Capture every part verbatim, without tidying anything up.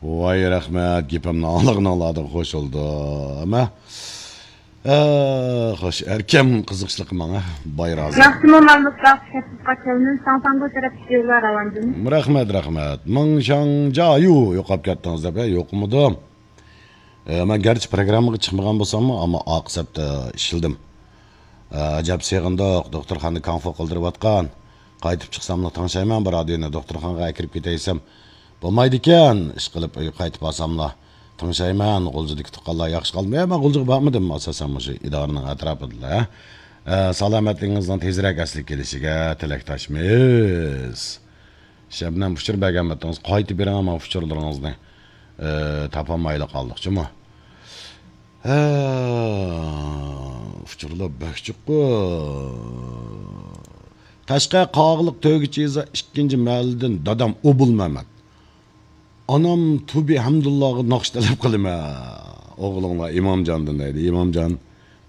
ۋاي رەھمەت، گېپىمنى ئاڭلىغىنىڭلاردىن خوش بولدۇم ھە. ئە، خوش، ئەركەم قىزىقىشلىق ماڭا، باي رازى. ياخشىمۇ مەملۇك تاغ، كەسىپقا چەۋنىن، ساڭساڭگۇ تەرەپ يوللار راۋاندىن. رەھمەت، رەھمەت. مىڭشاڭجايۇ يوقاپ كەتتىڭىز دەپ، ھە، يوقىمىدىم. ئە، مەن گەرچە پروگراممىغا چىقمىغان بولساممۇ، ئەمما ئارقا سەپتە ئىشلىدىم. ئە، ئەجەب سېغىندۇق، دوختۇرخانىدا كاڭفۇ قىلدۇرۇۋاتقان. قايتىپ چىقساملا تىڭشايمەن بۇ رادىيونى، دوختۇرخانىغا ئەكىرىپ كېتەي دېسەم، بولمايدىكەن، ئىشقىلىپ ئۆيگە قايتىپ بارساملا تىڭشايمەن، غۇلجىدىكى تۇغقانلار ياخشى قالدىمۇ؟ يا، مەن غۇلجىغا بارمىدىم، ئاساسەن مۇشۇ ئىدارىنىڭ ئەتراپىدىلا. ئە، سالامەتلىكىڭىزنىڭ تېزرەك ئەسلىگە كېلىشىگە تىلەكداشمىز. شەبنەم، ئۇچۇر بەرگەنمىدىڭىز؟ قايتا بېرىڭ مانا ئۇچۇرلىرىڭىزنى. ئە، تاپالمايلا قالدۇق جۇمۇ. ھە، ئۇچۇرلار بەك جىققۇ. قەشقەر قاغىلىق تۆگىچى يېزا ئىككىنچى مەھەللىدىن دادام ئوبۇل مەمەت. ئانام تۇبى ھەمدۇللاغا ناخشا تەلەپ قىلىمەن. ئوغلۇڭلار ئىمامجاندىن دەيدۇ. ئىمامجان،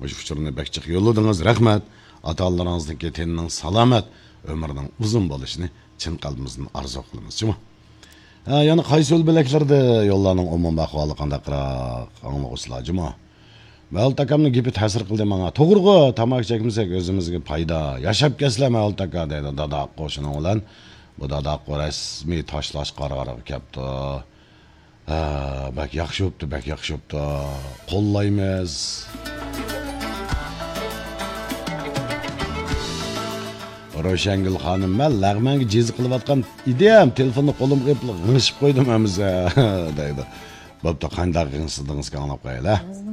مۇشۇ ئۇچۇرنى بەك جىق يوللىدىڭىز، رەھمەت. ئاتا-ئانىلىرىڭىزنىڭكى تېنىنىڭ سالامەت، ئۆمرىنىڭ ئۇزۇن بولۇشىنى چىن قەلبىمىزدىن ئارزۇ قىلىمىز جۇمۇ. ھە، يەنە قايسى يول بۆلەكلىرىدە يوللارنىڭ ئومۇمىي ئەھۋالى قانداقراق، ئاڭلىغۇچىلار جۇمۇ؟ مەۋلۇت ئاكامنىڭ گېپى تەسىر قىلدى ماڭا. توغرىغۇ، تاماكا چەكمىسەك ئۆزىمىزگە پايدا. ياشاپ كەتسىلە مەۋلۇت ئاكا دەيدۇ دادا ئاققۇ شۇنىڭ بىلەن. بۇ دادا ئاققۇ رەسمىي تاشلاش قارارىغا كەپتۇ. ھە، بەك ياخشى بوپتۇ، بەك ياخشى بوپتۇ. قوللايمىز. روشەنگۈل خانىم، مەن لەغمەنگە جىز قىلىۋاتقان ئىدىم، تېلېفوننى قولۇمغا ئېلىپ غىڭشىپ قويدۇم ھەمزە دەيدۇ. بوپتۇ، قانداق غىڭشىدىڭىزكى ئاڭلاپ قويايلى.